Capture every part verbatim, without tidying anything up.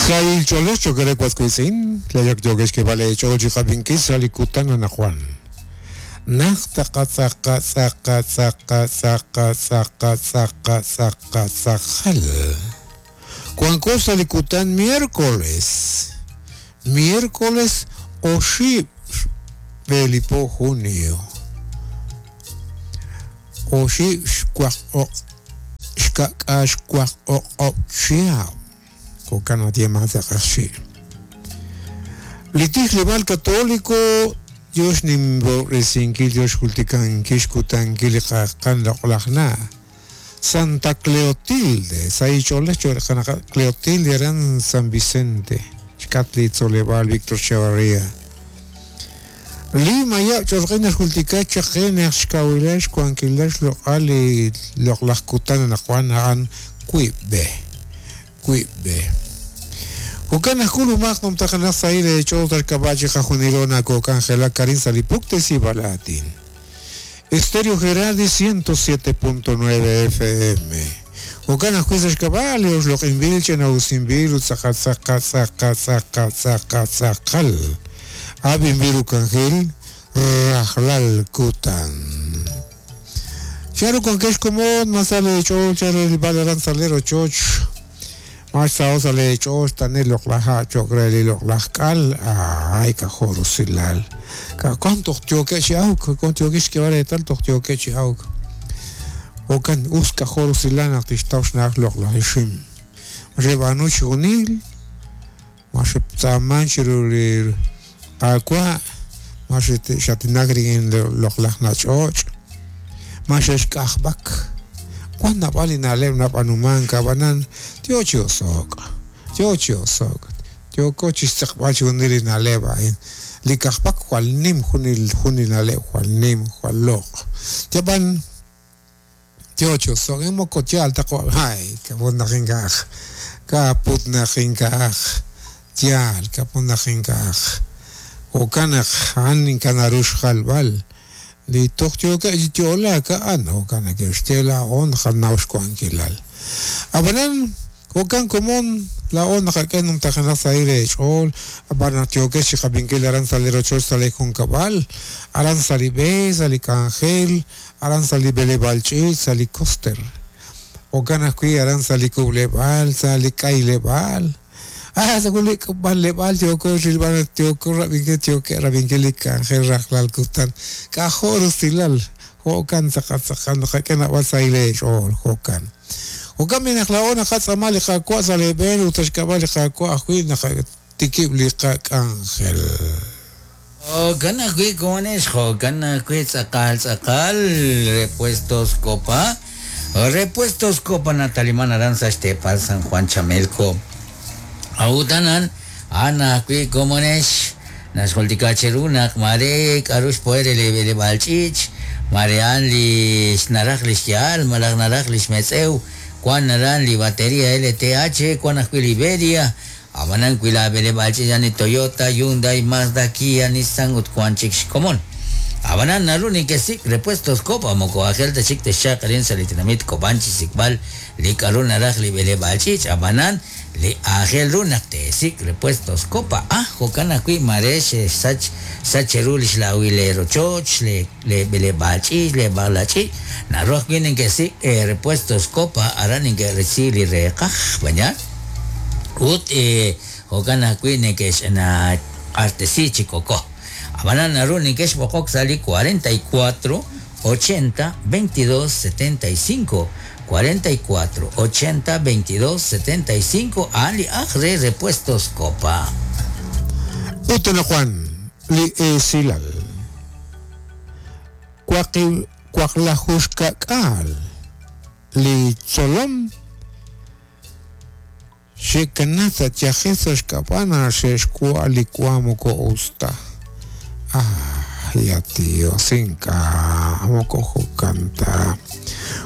Sahil cholex chokere kuazkuizin, tlayak yokesh que vale chochi jabinkis salikutan anajuan. Naj taqa tzaqa tzaqa tzaqa tzaqa tzaqa tzaqa tzaqa tzajal. Cuanco salikutan miércoles. Miércoles oxib belipo junio. Oxib xcuac o xcaca xcuac o o chiao. Cocana tiema tzaqaxi. Litij libal católico Dios nimbo resinkil Dios jultikan kishkutan kiliqaqan loqlaqna. Santa Cleotilde, Saicholes Cleotilde eran San Vicente, Xcatli Tzoleval, Víctor Chavarría. Lima ya chorqina jultika chaqena xkawilax kuankilax loqali loqlaqkutan naquan an kuibe. Kuibe. Ukana kulu magnum takana saile chotar kabachi jajunilona kokangela Karin Salipuktes y Balatin. Estéreo Gerardi ciento siete punto nueve F M. Ukana juizas cabalios, lo invilchen ausimbil, utzaca zaca zaca zaca zaca zacal. Abimbiru cangel, rajlal kutan. Charo con que como masale choch, el balaran salero choch. Marsa osale choch, tanel loklaja, chocreli loklajkal, ay cajoro silal. Cuánto tioquechi auk, cuánto tioquechi que vale tal tioquechi auk. Okan uska joro silan artistaushnak loklajishim. Rebanuch unil, mashe chirulir aqua, mashe shatinagri en loklajnach och, mashe shkajbak. Cuando valina lemna panuman kabanan, tiocho sok, tiocho sok, tiocochis tzakbachi unil naleva in. Likajpak cual nim junil junil nale cual nim cual lok. Tiaban tiocho sok emo cochal taco ay kaput najinkaj kaput najinkaj tial kaput najinkaj okanaj anin kanarush jalbal. Li toktioka tiola ka ano kana que estela on janaush kuankilal. Abanan okan komon la on jaken tajana saire chol abana tioke xikabinkel aran salero chol sale con cabal aran salibe salikangel aran salibele balchi salikoster okan akui aran salikublebal salikailebal. Ah, según vale, vale, tioco, rilban, tioco, rabinque, tioque, rabinque, cangel, rajlal, kutan, cajor, silal, jokan, zacazacan, jaquena, basaile, chol, jokan. Jokan, minajlaona, jatzamali, jacua, saleben, utashkabali, jacua, ajuin, tikibli, cangel. Jokan, ajui, cones, jokan, ajui, tzakal, tzakal, repuestos, copa, repuestos, copa, Natalimán, Aranza, Estepa, San Juan, Chamelco. Autanan, ana kui komonesh, nasholtikacherunak, marek, arush poere le balchich, marean li naraj li malaj naraj li metzeu, cuan naran li batería L T H, cuan ajui Liberia, abanan kui la bele balchich, ani Toyota, Hyundai, Mazda, Kia, Nissan, utcuan chik komon. Abanan naruni que sik repuestos copa, moko ajel te chik te shakarin salitinamit kobanchi sikbal, li karun naraj li bele balchich, abanan li ajel runak te sik repuestos copa, ah, jokana kui maresh sach sacherulish la huilero choch, le le bele balchich, le balachi, naroj vienen que sik eh, repuestos copa, aranin que recili rekaj, bañar, ut eh, jokana kui ne que na artesi chikoko. Abanana Runi que es sali cuarenta y cuatro ochenta veintidós setenta y cinco cuarenta y cuatro ochenta veintidós setenta y cinco Ali Ajre Repuestos Copa. Utena Juan li esilal Cuaqui cuaqlajushkakal li cholom Shekanata tiajesoshkapana sheshkualikuamuko usta. Ah, ya tío, cinca, mocojo canta.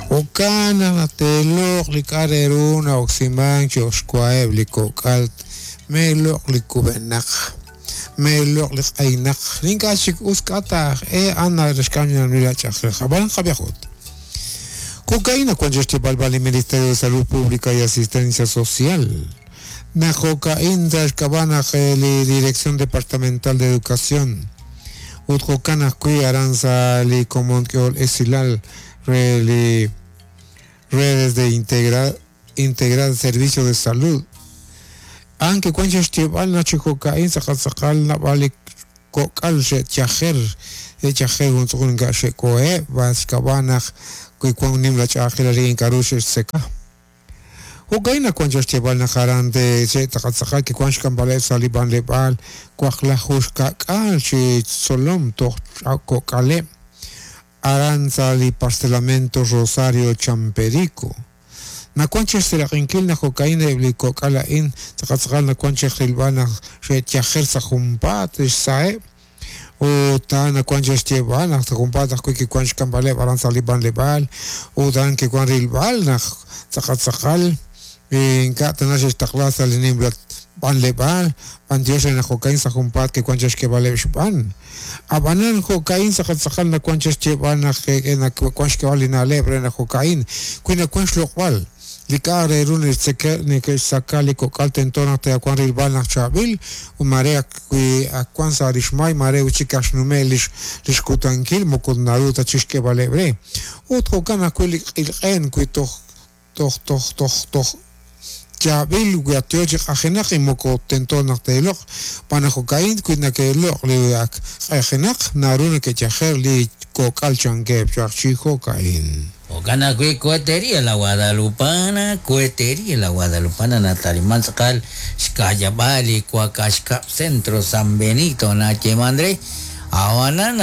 Ocana la telo, licareruna, oximan, choscuaeb, licocalt, melo, licubenac, melo, licainac, linka chic uscata, e ana, rescaña, mira, chajeja, van javiajot. Cocaína cuando este balbal el Ministerio de Salud Pública y Asistencia Social. Naq jo'ka'in sa' xk'ab'a' naq li Dirección Departamental de Educación ut jo'kan ajwi' aran sa' li komon k'ehol esilal re li redes de integra integral servicio de salud aunque wan xyeeb'al naq chi jo'ka'in tz'aqal tz'aqal naab'al li kok'al xe'yajer xe'yajer juntz'uqul ink'a' xe'koheb' xk'ab'a' naq wi wan nim la ch'a'ajkilal rik'in k'a'ru xe'xtzeka. Jo'ka'in naq wan xyeeb'al naq aran de xe'tz'aqal tz'aqal kiwan xk'amb'aleb' sa' li b'anleb'aal waqlaju xka'k'aal chi tzolom toj kok'aleb' aran sa' li parcelamento Rosario Champerico. Nawan xseraq'inkil naq jo'ka'in eb' li kok'al a'in tz'aqal tz'aqal nawan rilb'al naq xe'yajer sa' junpaat xsa'eb' ut a'an nawan xyeeb'al naq sa' junpaat ajwi' kiwan xk'amb'aleb' aran sa' li b'anleb'aal ut a'an kiwan rilb'al naq tz'aqal tz'aqal ink'a' tana xe'xtaqla sa' li nimla b'anleb'aal b'antiox re naq jo'ka'in sa' junpaat kiwan xk'eeb'aleb' xb'an. Ab'anan jo'ka'in tz'aqal tz'aqal nawan xyeeb'al naq nawan xk'eeb'al li na'leb' re naq jo'ka'in wi nawan xloq'b'al li k'a' re ru neke'xsaka li kok'al tento naq te'wan rilb'al naq chaab'il ut mare wi ak wan sa' lix may mare chik ak xnume' lix lix kutankil moko naru ta chixk'eeb'aleb' re ut jo'kan ajwi' li q'ilq'en wi toj toj toj toj toj chaab'il wi ak yo chi q'ajenaq y moko tento naq te'loq' b'an naq jo'ka'in wi nake'loq' li ak q'ajenaq naru neke'yajer li kok'al chankeb' chaq chi jo'ka'in. Jo'kan ajwi' Cohetería La Guadalupana, Cohetería La Guadalupana nataliman tz'aqal xka'yab'al li Cuacaxcab Centro San Benito nayeeman re awanan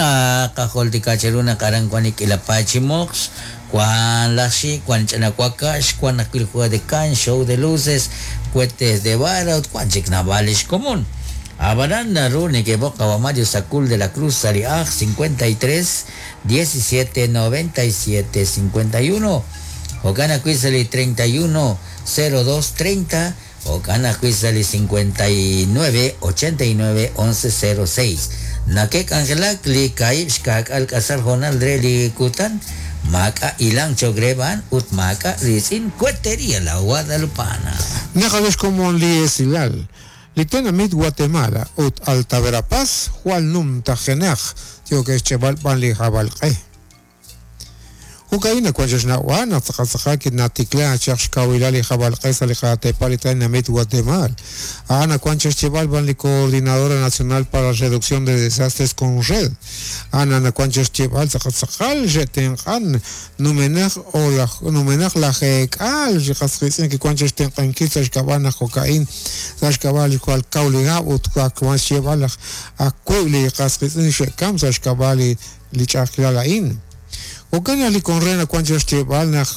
qajultika cheru naq aran wan li k'ilapa chi moqx wan laj xi' wan ch'ina wakax wan ajwi' li juego de can, show de luces, cohetes de vara ut wan chik naab'al lix komon. Ab'anan naru neke'b'oq qawa Mario Sacul de la Cruz sa' li aj cincuenta y tres diecisiete noventa y siete cincuenta y uno jo'kan ajwi' sa' li treinta y uno cero dos treinta jo'kan ajwi' sa' li cincuenta y nueve ochenta y nueve once cero seis. Nake'k'anjelak li kaib' xka'k'al k'asal jonal re li kutan maak'a' ilang chogreban ut maak'a' ritz'in Cohetería La Guadalupana. Naqalex komon li esilal li tenamit Guatemala ut Alta Verapaz jwal numtajenaq yoke xch'eb'al b'an li jab'alq'e. Jo'ka'in nawan xna'wa naq tz'aqal tz'aqal kinatikla chaq xkawilal li jab'alq'e sa' li qatepal li tenamit Guatemala. A'an nawan xch'eb'al b'an li Coordinadora Nacional para la Reducción de Desastres con Red. A'an nawan xch'eb'al tz'aqal tz'aqal xe'tenq'an numenaq o laj numenaq lajeek'al xi qas qiitz'in kiwan xtenq'ankil sa' xk'ab'a' naq jo'ka'in sa' xk'ab'a' li jwal kaw li hab' ut wan xch'eb'al laj ajwi' li qas qiitz'in xe'kam sa' xk'ab'a' li li ch'a'ajkilal a'in. Jo'kan li konre nawan xyeeb'al naq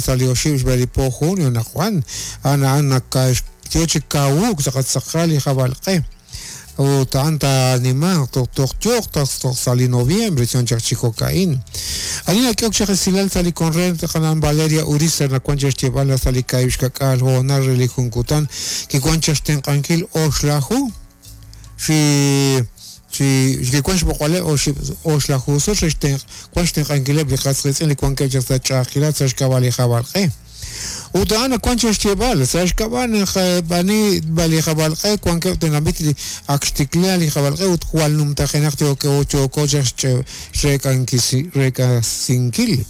sa' li oxib' xb'e li po junio naq wan a'an a'an naq yo chi kawuk tz'aqal tz'aqal li jab'alq'e ut a'an taanimanq toj toj yooq toj sa' li noviembre chon chaq chi jo'ka'in. Ani nak'ehok chaq esilal sa' li konre qanan Valeria Urizar nawan xyeeb'al sa' li kaib' xka'k'aal hoonal re li jun kutan kiwan chaq xtenq'ankil oxlaju xi chi kiwan xb'oq'aleb' oxlaju sut re xtenq wan xtenq'ankileb' li qas qiitz'in li wankeb' chaq sa' ch'a'ajkilal sa' xk'ab'a' li jab'alq'e. Ut a'an nawan xyeeb'al sa' xk'ab'a' naq b'ani li jab'alq'e wankeb' tenamit li ak xtikla li jab'alq'e ut jwal numtajenaq yooko yooko chaq xrek'asinkil.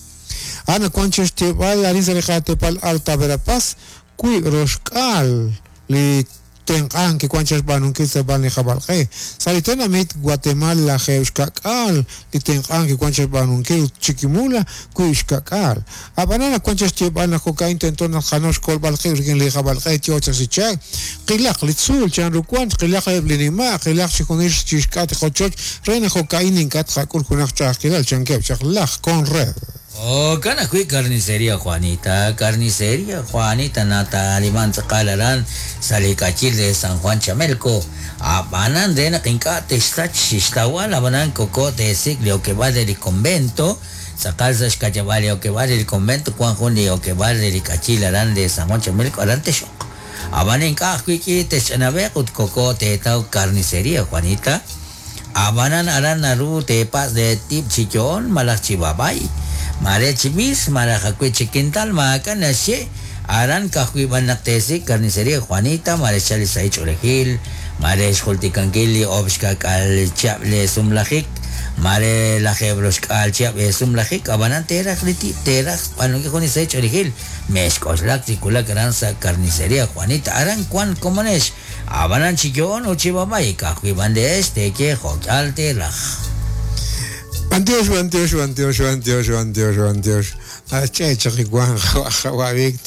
A'an nawan xyeeb'al arin sa' li qatepal Alta Verapaz wiib' roxk'aal li tenq'an kiwan chaq xb'aanunkil sa' b'an li jab'alq'e. Sa' li tenamit Guatemala lajeeb' xka'k'aal li tenq'an kiwan chaq xb'aanunkil ut Chiquimula wiib' xka'k'aal. Ab'anan nawan chaq xyeeb'al naq jo'ka'in tento naq qanaw xkolb'al qib' rik'in li jab'alq'e yo chaq chi chak qilaq li tzuul chanru wan qilaq eb' li nima' qilaq chi junil chi xk'at qochoch re naq jo'ka'in ink'a' tqak'ul junaq ch'a'ajkilal chankeb' chaq laj Conred. Jo'kan ajwi' Carnicería Juanita, Carnicería Juanita nataliman tz'aqal aran sa' li k'achil de San Juan Chamelco. Ab'anan re naq ink'a' texsach xixtawal ab'anan koko teesik' li okeb'aal re li convento tz'aqal sa' xka'yab'al li okeb'aal re li convento wan jun li okeb'aal re li k'achil aran de San Juan Chamelco aran texoq. Ab'an ink'a' ajwi' k'i texch'anab'eq ut koko teetaw Carnicería Juanita. Ab'anan aran naru teepas de tib' chi yo'on malaj chi babay. Mare chi mis, malaj ajwi' chi quintal, maak'a' naxye Aran ka'ajwi' b'an naq teesik' Carnicería Juanita, mare xchal li sahil ch'oolejil, mare xjultikankil li oob' xka'k'aal chihab' le sumlajik, mare lajeeb' roxk'aal chihab' sumlajik, ab'anan teeraj li tib' teeraj b'aanunkil jun li sahil ch'oolejil, mexk'oxlak chi wulak aran sa' Carnicería Juanita, aran wan komonex, ab'anan chi yo'on ut chi b'ab'ay, ka'ajwi' b'an leex teeye jo'k'al teeraj. B'antiox, b'antiox, b'antiox, b'antiox, b'antiox, b'antiox. Che chaq wan Qawa' Víctor.